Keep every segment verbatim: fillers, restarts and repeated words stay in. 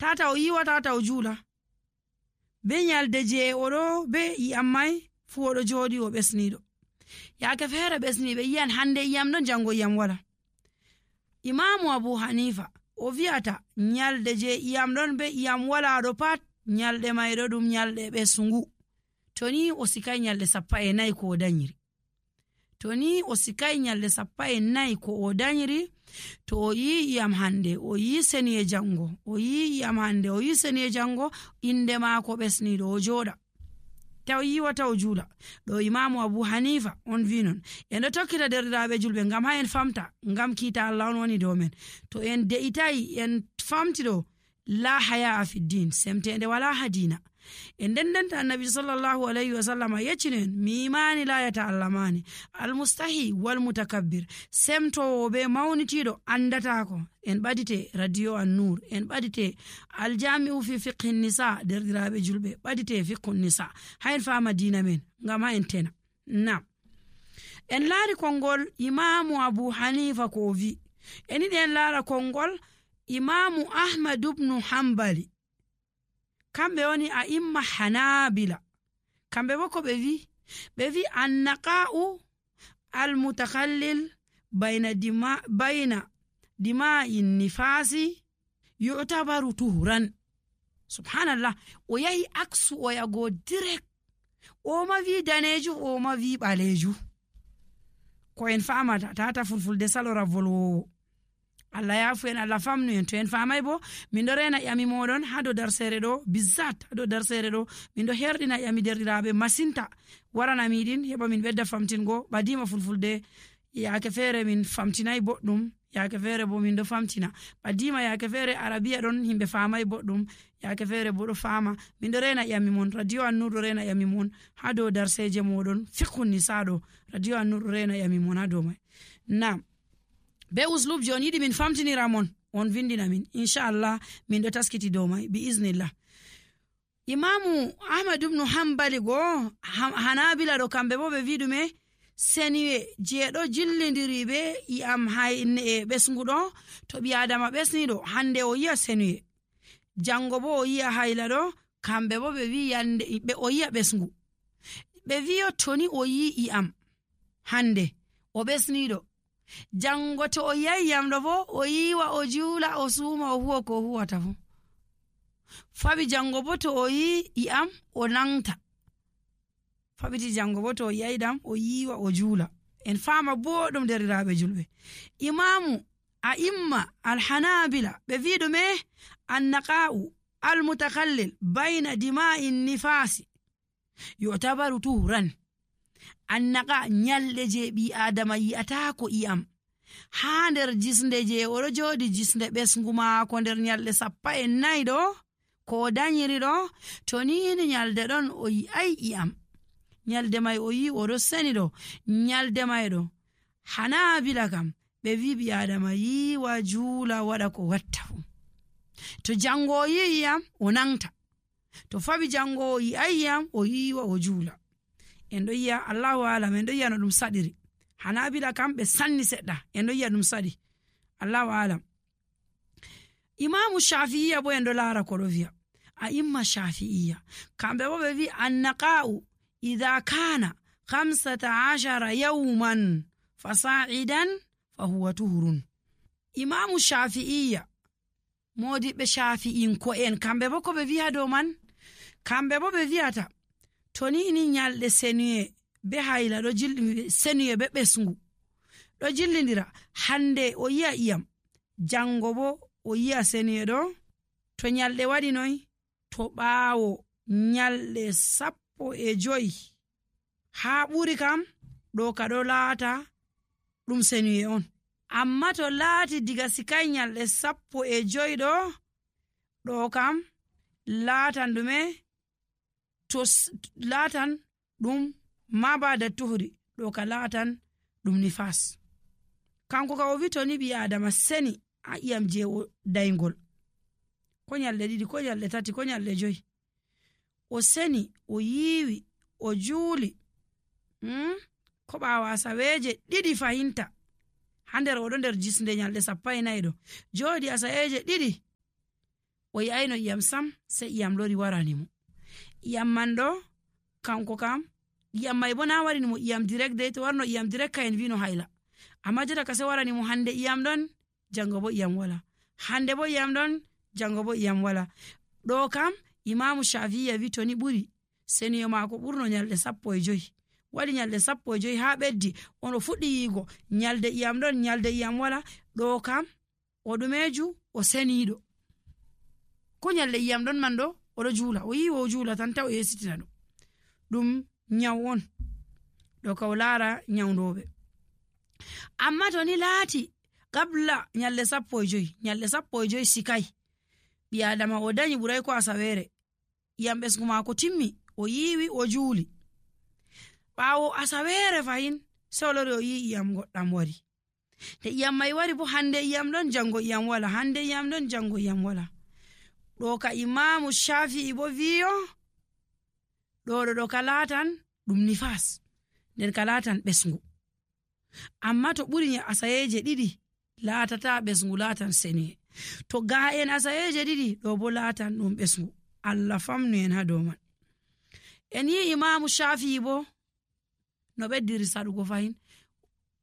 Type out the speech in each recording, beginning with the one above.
tata o yiwa tata o juula be nyalde je oɗo be iyam mai fu oɗo jooɗi o ɓesniɗo. yaake feere ɓesniɓe yiyan hande iyam ɗon jango iyam wala. Imamu Abu Hanifa o wi'ata nyalde je iyam ɗon be iyam wala ɗo pat nyalde mai ɗo ɗum nyalde ɓesngu. to ni o sikai nyalde sappa e nayi ko o danyiri to ni o sikai nyalde sappa e nayi ko o danyiri to o yi iyam hande o yi seniye jango o yi iyam hande o yi seniye jango inde maako ɓesniɗo o jooɗa taw yiwata o juula. ɗo Imamu Abu Hanifa on vi non. en ɗo tokkita derɗiraɓe julɓe ngam ha en famta ngam kiita Allah on woni dow men. to en de'itayi en famti ɗo la haya a fiddin semtende wala ha dina. en dendenta annabi sallallahu alayhi wa sallam yeccinen mi imani la yata'allamani almustahi wal mutakabbir semtowo be mawnitiɗo andatako. en ɓadite radio an-nur en ɓadite aljami'u fi fiqhi nisa derɗiraɓe julɓe ɓadite fiqhu nisa ha en fama dina men ngam ha en tena. nam en laari kongol Imamu Abu Hanifa ko o vi. en yiɗi en laara kongol Imamu Ahmad ibn Hanbali kamɓe woni a imma hanabila. kamɓe bo ko ɓe vi ɓe vi annaqa'u almutakallil bayna dima bayna dima'in nifasi yu'tabaru tuhran. subhanallah o yahi aksu o yago direct o ma vi daneju o ma vi ɓaleju ko en famata tata fulfulde salora volwowo. Allah yafu en Allah famnu en. to en famay bo min do rena yami modon ha do darsere do bizzat ha do darsere do min do herdina yami derdiraabe masinta warana midin heba min bedda famtingo badima fulfulde yaake fere min famtinay boddum yaake fere bo min do famtina badima yaake fere arabiya don himbe famay boddum yaake fere bo do fama min do rena yami mon radio an-nur do rena yami mon ha do darseje modon fiqhu nisa do radio an-nur do rena yami mon ha do mai. Naam be uslub jon yidi min famtinira mon on vindina min inshallah min do taskiti do mai bi iznillah. Imamu Ahmad ibn Hanbali go hanabila do kambe bo be vidume seniwe je do jillindiri be i am hayne e besngudo to bi adama besnido hande o yiya seniwe jango bo o yiya hayla do kambe bo be wi yande be o yiya besngu be wiyo toni o yi i am hande o besnido jango to o yayi yamdo bo o yiwa o juula o suuma o huwa ko huwata fu fabi jango bo to o yi iam o nangta fabiti jango bo to o yayi dam o yiwa o juula. en fama boɗum deriraɓe julɓe. Imamu a imma alhanabila ɓe wiɗo me annaqa'u almutakallil bayna dima'in nifasi yu'tabaru tuhran. annaqa nyalde je bi adama yi'ata ko iyam ha nder jisnde je oɗo jodi jisnde ɓesngu maako nder nyalde sappa e nayi ɗo ko danyiri ɗo to ni nyalde ɗon o yi'ai iyam nyalde mai o yi oɗo seni ɗo nyalde mai ɗo hanabila kam ɓe wi bi adama yiwa juula waɗa ko watta fu. to jango o yi iyam o nangta to fabi jango o yi'ai iyam o yiwa o juula. en do yiya Allahu alam en do yiya no dum sadiri. hanabila kam be sanni sedda en do yiya dum sadi Allahu alam. Imamu Shafi'iyya bo en do lara ko do wiya a imma Shafi'iyya kambe bo be wi annaqa'u idha kana khamsata ashara yawman fasa'idan fa huwa tuhurun. Imamu Shafi'iyya modi be Shafi'in ko en kambe bo ko be wiya do man kambe bo be wiyata to ni ni nyalde senuye be hayla do jilli senuye be besngu do jillindira hande o yiya iyam jango bo o yiya senuye do to nyalde wadi noy to baawo nyalde sappo e joyi ha buri kam do ka do laata dum senuye on. amma to laati diga sikai nyalde sappo e joyi do do kam laatan dume to laatan ɗum ma bada tuhri ɗo ka laatan ɗum nifas. kanko ka o wito ni bi adama seni a iyam je o daygol ko nyalde ɗiɗi ko nyalde tati ko nyalde joyi o seni o yiwi o juuli hmm? ko ɓawa asaweje ɗiɗi fahinta ha nder oɗo nder jisnde nyalde sappo e nayi ɗo jooɗi asaweje ɗiɗi o yi'ayno iyam sam sai iyam lori warani mo. iyam man ɗo kanko kam iyam mai bo na warini mo iyam direct dai, to warno iyam direct ka en vino haila, amma jota ka sai warani mo hande iyam ɗon jango bo iyam wala, hande bo iyam ɗon jango bo iyam wala. ɗo kam Imamu Shafi'i wi to ni ɓuri seniyo maako ɓurno nyalɗe sappo e joyi, waɗi nyalɗe sappo e joyi ha ɓeddi ono fuɗɗi yigo nyalde iyam ɗon nyalde iyam wala. ɗo kam o ɗumeju o seniɗo, ko nyalde iyam ɗon man ɗo oɗo juula, o yi o juula tan taw o yesitina ɗum ɗum nyaw on ɗo ka o laara nyawdoɓe. amma to ni laati qabla nyalde sappo e joyi, nyalde sappo e joyi sikai, ɓi adama o danyi ɓuray ko asawere, iyam ɓesgu maako timmi, o yiwi o juuli, ɓaawo asawere fahin sai o lori o yi iyam goɗɗam wari. te iyam mai wari bo hande iyam ɗon jango iyam wala, hande iyam ɗon jango iyam wala. ɗo ka Imamu Shafi'i bo wiyo ɗo ɗo ɗo ka laatan ɗum nifas, nden ka laatan ɓesgu. amma to ɓuri asayeje ɗiɗi laatata ɓesgu, laatan seniye. to ga en asayeje ɗiɗi ɗo bo laatan ɗum ɓesgu. Allah famnu en ha dow man. en yi Imamu Shafi'i bo no ɓeddiri saɗugo fahin,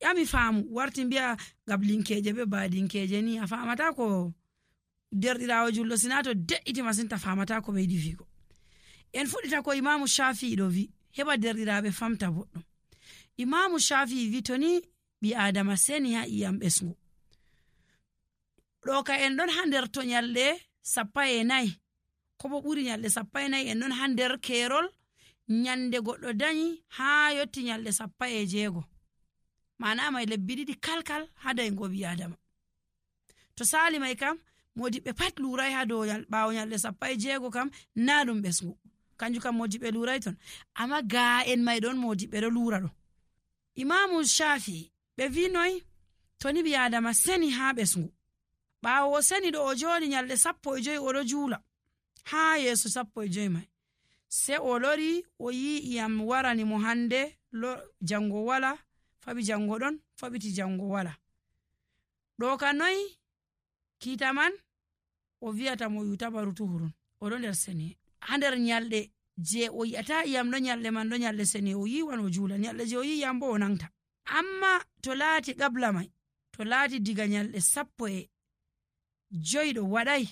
yami faamu warti mbiya gablinkeje be baadinkeje ni a famata ko derɗirawo jullo, sina to de'iti masin ta famata ko ɓeydi figo. en fuɗita ko Imamu Shafi'i ɗo wi heɓa derɗiraɓe famta boɗɗum. Imamu Shafi'i wi to ni ɓi adama seni ha iyam ɓesgu, ɗo ka en ɗon ha nder to nyalɗe sappa e nayi ko bo ɓuri nyalɗe sappa e nayi, en ɗon ha nder kerol nyande goɗɗo danyi ha yotti nyalɗe sappa e jeego, mana mai lebbi ɗiɗi kalkal ha daygo ɓi adama. to sali mai kam modiɓɓe pat lurai ha dow ɓawo nyalɗe sappa e jeego kam na ɗum ɓesgu, kanjum kam modiɓɓe lurai ton, amma ga en mai ɗon modiɓɓe ɗo lura ɗo. Imamu Shafi'i ɓe vi noy, to ni ɓi adama seni ha ɓesgu, ɓawo o seni ɗo o joɗi nyalɗe sappo e joyi oɗo juula ha yeeso sappo e joyi mai, se o lori o yi iyam warani mo hande jango wala, faɓi jango ɗon faɓiti jango wala. ɗo ka noy kiita man o wiyata mo yutabaru tuhurun, oɗo nder seni ha nder nyalɗe je o yi'ata iyam ɗo nyalɗe man ɗo nyalɗe seni o yiwan o juula, nyalɗe je o yi iyam bo o nangta. amma to laati qabla mai, to laati diga nyalɗe sappo e joyi ɗo waɗai,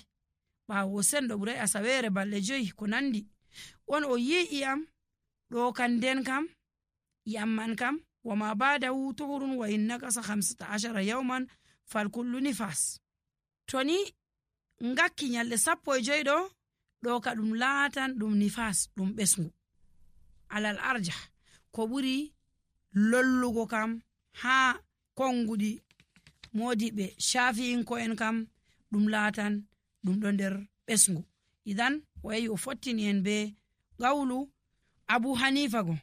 ɓawo sen ɗo ɓurai asawere balɗe joyi ko nandi, on o yi iyam ɗo kan nden kam iyam man kam wama badahu tuhurun wa in nakasa hamsata ashara yawman fal kullu nifas. to ni ngakki nyalɗe sappo e joyi ɗo ɗo ka ɗum laatan ɗum nifas, ɗum ɓesgu alal arja, ko ɓuri lollugo kam ha konguɗi modiɓe Shafi'inko en kam ɗum laatan ɗum ɗo nder ɓesgu. idan o yahi o fottini en be qawlu Abu Hanifa go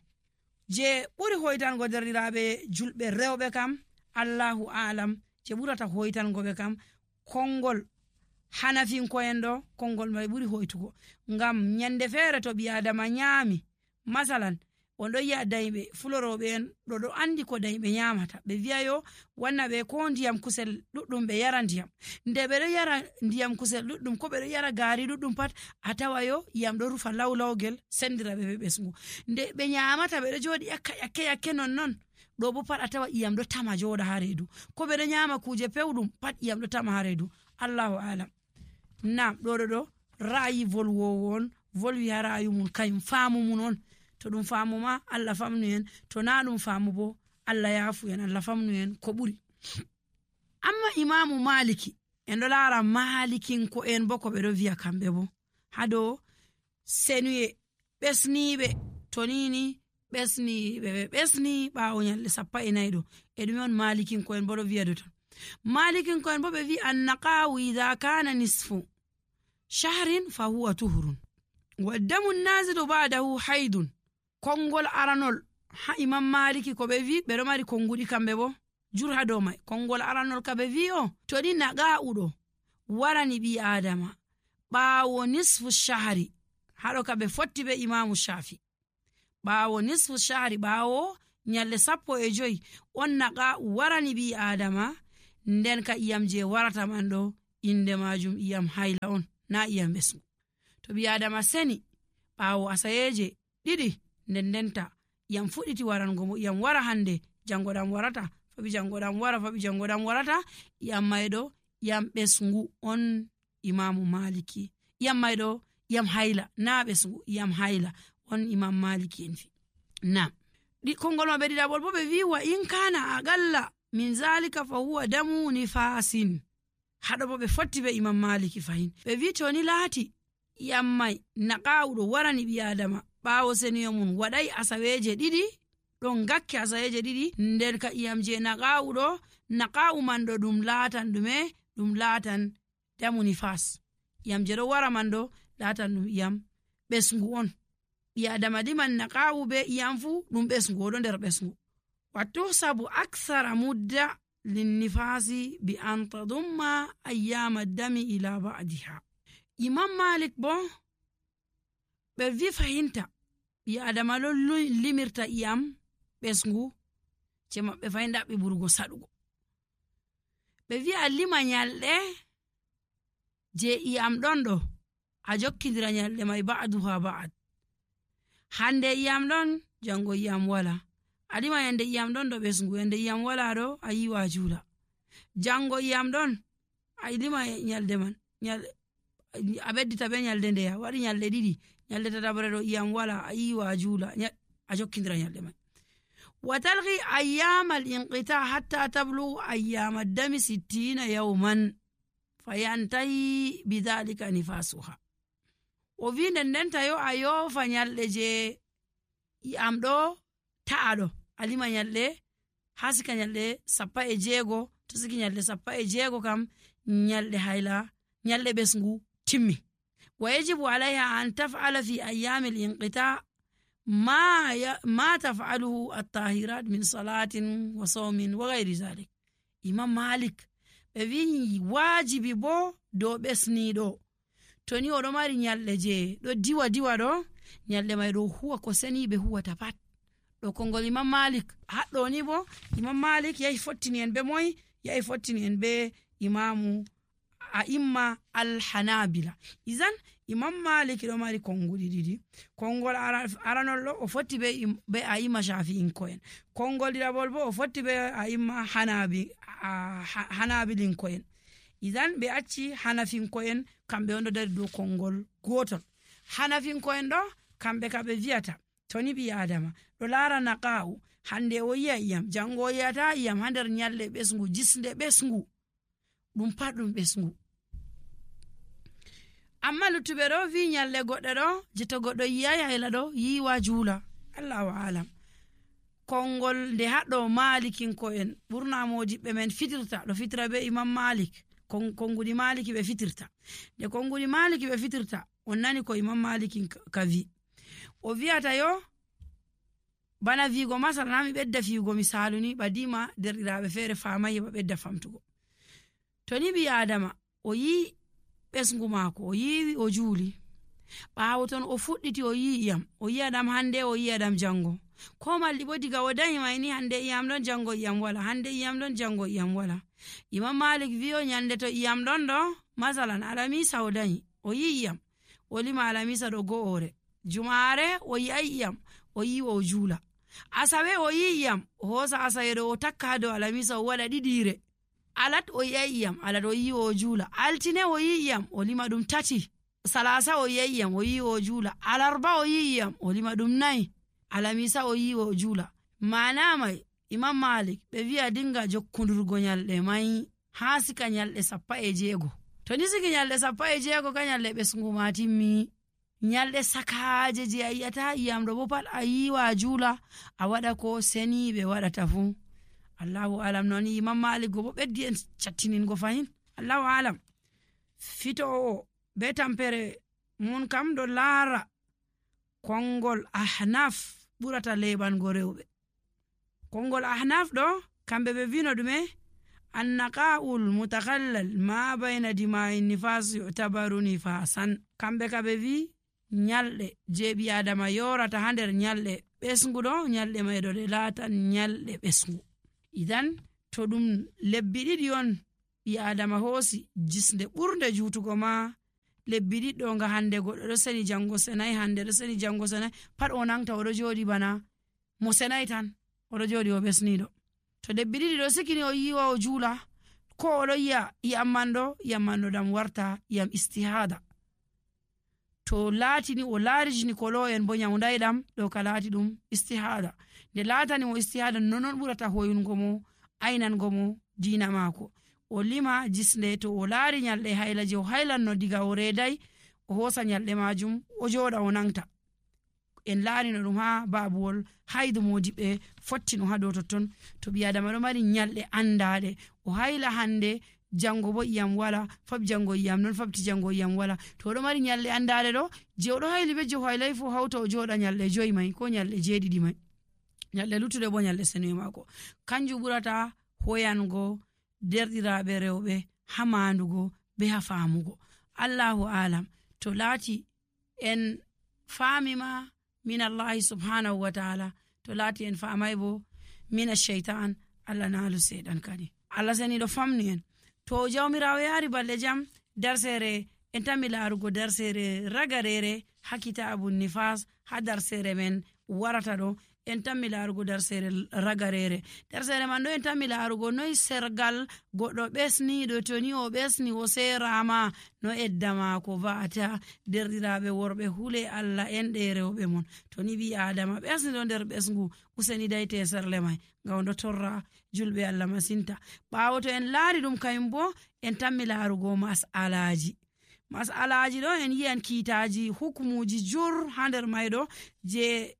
je ɓuri hoytango derɗiraɓe julɓe rewɓe kam, Allahu alam, je ɓurata hoytango ɓe kam kongol Hanafinko en ɗo, kongol mai ɓuri hoytugo. ngam nyande feere to ɓi adama nyami, masalan on ɗo yi'a dayɓe fuloroɓe en ɗo ɗo andi ko dayɓe nyamata, ɓe wi'ayo wanna ɓe ko ndiyam kusel ɗuɗɗum ɓe yara ndiyam, nde ɓe ɗo yara ndiyam kusel ɗuɗɗum ko ɓe ɗo yara gaari ɗuɗɗum pat a tawayo iyam ɗo rufa lawlawgel sendira ɓe ɓe ɓesgu, nde ɓe nyamata ɓe ɗo joɗi yakka yakke yakke non non ɗo bo pat a tawa iyam ɗo tama joɗa ha reedu, ko ɓe ɗo nyama kuje pewɗum pat iyam ɗo tama ha reedu. Allahu alam. nam ɗo ɗo ɗo ra'ayi volwowo on volwi ha ra'ayi mum, kayum faamu mun on, to ɗum faamu ma Allah famnu en, to na ɗum faamu bo Allah yafu en, Allah famnu en ko ɓuri. amma Imamu Maliki en ɗo laara malikinko en bo ko ɓe ɗo wiya kamɓe bo ha dow senuye ɓesniɓe, to nini ɓesniɓe ɓe ɓesni ɓawo nyalɗe sappa e nayi ɗo, e ɗume on malikinko en bo ɗo wiya do ton. malikinko en bo ɓe wi annaqawu idha kana nisfu shahrin fa huwa tuhurun wa damu nazilu ba'dahu haidun. kongol aranol ha Imam Maliki ko ɓe wi, ɓe ɗo mari konguɗi kamɓe bo jur ha dow mai. kongol aranol ka ɓe wi o to ni naqa'u ɗo warani ɓi adama ɓawo nisfu shahri, haɗo ka ɓe fotti be Imamu Shafi, ɓawo nisfu shahri, ɓawo nyalɗe sappo e joyi on naqa'u warani ɓi adama, nden ka iyam je warata man ɗo inde majum iyam haila on. na iyam ɓesngu. To ɓi adama seni ɓaawo asayeje ɗiɗi nden ndenta iyam fuɗɗiti warango mo, iyam wara hande jango ɗam warata, faɓi jango ɗam wara, faɓi jango ɗam warata, iyam mayɗo iyam ɓesngu on imamu maliki. iyam mayɗo iyam hayla, na ɓesngu, iyam hayla on imam maliki en fi. Nam kongol maɓɓe ɗiɗaɓol bo ɓe wi wa in kana aqalla min zalika fa huwa damu nifasin. haɗo bo ɓe fotti be imam maliki fahin, ɓe wi to ni laati iyam mai naqawuɗo warani ɓi adama ɓawo seniyo mum waɗai asaweje ɗiɗi, ɗon gakke asaweje ɗiɗi, nder ka iyam je naqawuɗo, naqawu man ɗo ɗum laatan ɗume, ɗum laatan damu nifas. iyam je ɗo wara man ɗo laatan ɗum iyam ɓesngu on. ɓi adama liman naqawu be iyam fu ɗum ɓesngu, oɗo nder ɓesngu. wattu sabu akthara mudda linnifasi bi an tadumma ayyama dami ila ba'diha. imam malik bo ɓe vi fahinta ɓi adama ɗo limirta iyam ɓesngu je maɓɓe fahin ɗaɓɓi ɓurgo saɗugo. ɓe vi a lima nyalɗe je iyam ɗon ɗo a jokkidira nyalɗe mai ba'duha ba'd. hande iyam ɗon jango iyam wala, a lima yande iyam ɗon ɗo ɓesngu, yande iyam wala ɗo a yiwa jula. jango iyam ɗon a lima nyalde man, a beddita be nyalde ndeya waɗi nyalde ɗiɗi, nyalde tatabre ɗo iyam wala, a yiwa jula, a jokkidira nyalde man. wa talqi ayyama al-inqita hatta tablu ayyama dami sittina yawman fayantahi bidhalika nifasuha. o wi nden ndenta yo a yofa nyalɗe je iyam ɗo ta'a ɗo, a lima nyalɗe ha sika nyalɗe sappa e jeego, to siki nyalɗe sappa e jeego kam nyalɗe hayla, nyalɗe ɓesngu timmi. wa yajibu alayha an taf'ala fi ayyami al-inqita ma ya, ma taf'aluhu at-tahirat min salatin wa sawmin wa ghayri zalik. imam malik ɓe wi wajibi bo dow ɓesniɗo to ni oɗo mari nyalɗe je ɗo diwa diwa ɗo, nyalɗe mai ɗo huwa ko seni ɓe huwata pat. ɗo kongol imam malik. haɗɗo ni bo imam malik yahi fottini en be moy, yahi fottini en be imamu a'imma al-hanabila. izan imam malik ɗo mari konguɗi ɗiɗi. kongol aranol ɗo o fotti be, be a'imma shafi'in ko en, kongol ɗiɗaɓol bo o fotti be a'imma hanabi hanabilin ko en. izan ɓe acci hanafinko en kamɓe on ɗo dari dow kongol gotol. hanafinko en ɗo kamɓe ka ɓe viyata to ni ɓi adama ɗo lara naqa'u, hande o yi'a iyam, jango o yiyata iyam ha nder nyalɗe ɓesngu, jisnde ɓesngu, ɗum pat ɗum ɓesngu. amma luttuɓe ɗo vi nyalɗe goɗɗe ɗo je to goɗɗo yiyai hayla ɗo yiwa juula. allahu alam. kongol nde haɗɗo malikinko en ɓurna modiɓɓe men fitirta ɗo fitira be imam malik, konguɗi maliki ɓe fitirta. nde konguɗi maliki ɓe fitirta on nani ko imam maliki ka vi, o viyata yo bana vigo masala nami ɓedda fiugo misalu ni ɓadima derɗiraɓe feere famai heɓa ɓedda famtugo. to ni ɓi adama o yi ɓesngu maako, o yiwi o juuli, ɓawo ton o fuɗɗiti o yi iyam, o yi'a ɗam hande o yi'a ɗam jango, ko malli bo diga o dañi mai ni hande iyam ɗon jango iyam wala, hande iyam ɗon jango iyam wala. imam malik wiyo nyande to iyam ɗon ɗo masalan alamisa o dañi o yi iyam, o lima alamisa ɗo go'ore, jumare o yi'ai iyam o yi o juula, asawe o yi iyam o hosa asaweɗo o takka ha dow alamisa o waɗa ɗiɗire, alat o yi'ai iyam, alat o yi o juula, altine o yi iyam o lima ɗum tati, salasa o yi'ai iyam o yi o juula, alarba o yi iyam o lima ɗum nayi, alamisa o yi o juula. mana mai imam malik ɓe wi'a dinga jokkudurgo nyalɗe mai ha sika nyalɗe sappa e jeego. to ni siki nyalɗe sappa e jeego ka nyalɗe ɓesngu ma timmi. nyalɗe sakaje je a yi'ata iyam ɗo bo pat a yiwa juula, a waɗa ko seni ɓe waɗata fu. allahu alam. noni imam malik go bo ɓeddi en cattiningo fahin. allahu alam. fito o be tampere mun kam ɗo laara kongol ahnaf ɓurata leɓango rewɓe. kongol ahnaf ɗo kamɓe ɓe vino ɗume annaqa'ul mutakallal ma bayna dima'i nifas yu'tabaru nifasan. kamɓe ka ɓe vi nyalɗe je ɓi adama yorata ha nder nyalɗe ɓesngu ɗo, nyalɗe mai ɗo ɗe latan nyalɗe ɓesngu. idan to ɗum lebbi ɗiɗi on ɓi adama hoosi jisnde ɓurde jutugo ma lebbi ɗiɗɗo nga hande goɗɗo ɗo seni jango senai, hande ɗo seni jango senai, pat o nangta oɗo joɗi bana mo senai tan oɗo joɗi o ɓesniɗo. To lebbi ɗiɗi ɗo sikini o yiwa o juula, ko oɗo yi'a iyam man ɗo iyam man ɗo ɗam warta iyam istihada. To laatini o laarijini kolo en bo nyawdai ɗam ɗo ka laati ɗum istihada. Nde laatani mo istihada nonon ɓurata hoyungo mo, ainango mo diina maako. O lima jisnde, to o laari nyalɗe hayla je o haylanno diga o reedai, o hosa nyalɗe majum o joɗa o nangta. En laarino ɗum ha babuwol haidu modiɓɓe fottino ha dow totton. To ɓi adama ɗo mari nyalɗe andaɗe, o hayla hande jango bo iyam wala, fab jango iyam non, fabti jango iyam wala. To oɗo mari nyalɗe andaɗe ɗo, je oɗo hayli be je o haylai fu hauta o joɗa nyalɗe joyi mai ko nyalɗe jeeɗiɗi mai, nyalɗe luttuɗe bo nyalɗe senuye maako. Kanjum ɓurata hoyango derɗiraɓe rewɓe ha mandugo be ha famugo. Allahu alam. To laati en famima min Allahi subhanahu wa ta'ala, to laati en famai bo min ash-shaytan, Allah naalu seɗan kadi. Allah seni ɗo famni en. To jawmirawo yaari balɗe jam, darsere en tammi laarugo darsere ragarere ha kitabun nifas. Ha darsere men warata ɗo en tammi laarugo darsere ragarere. Darsere man ɗo en tammi laarugo noy sergal goɗɗo ɓesniɗo, to ni o ɓesni o serama no edda maako va'ata. Derɗiraɓe worɓe hule Allah en ɗe rewɓe mon, to ni ɓi adama ɓesniɗo nder ɓesngu, useni dayte serle mai ngam ɗo torra julɓe Allah masinta. Ɓawo to en laari ɗum kayum bo en tammi laarugo mas'alaji. Mas'alaji ɗo en yi'an kiitaji hukumuji jur ha nder mai ɗo je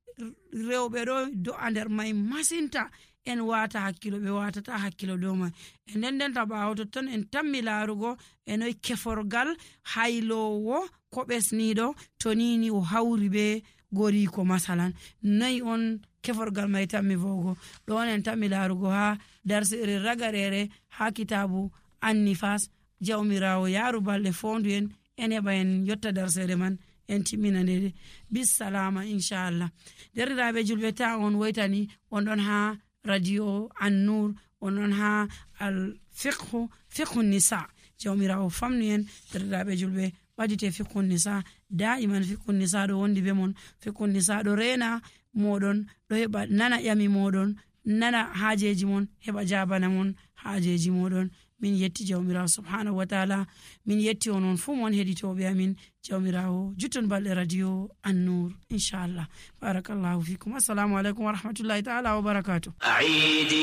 rewɓe ɗo do'a nder mai masinta, en wata hakkilo, ɓe watata hakkilo dow mai. E nden ndenta ɓawo totton en tammi laarugo e noy keforgal haylowo ko ɓesniɗo to nini o hawri be goriko masalan, noy on keforgal mai tammi vogo. ɗon en tammi laarugo ha darsere ragarere ha kitabu annifas. Jawmirawo yaaru balɗe fondu en en heɓa en yotta darsere man en timmina nde bisalama inchallah. Derɗiraɓe julɓe, ta on woytani on ɗon ha radio An-Nur, on ɗon ha al fiqhu fiqhu nisa. Jawmirawo famnu en derɗiraɓe julɓe, ɓadite fiqhu nisa da'iman. Fiqhu nisa ɗo wondi be mon, fiqhu nisa ɗo rena moɗon, ɗo heɓa nana ƴami moɗon, nana hajeji mon, heɓa jabana mon hajeji moɗon. Min yetti jawmirawo subhanahu wa ta'ala, min yetti onon fu mon heɗitoɓe amin. Jawmirawo jutton balɗe radio An-Nur inchallah. Barakallahu fikum. Assalamu alaikum wa rahmatullahi ta'ala wa barakatuh.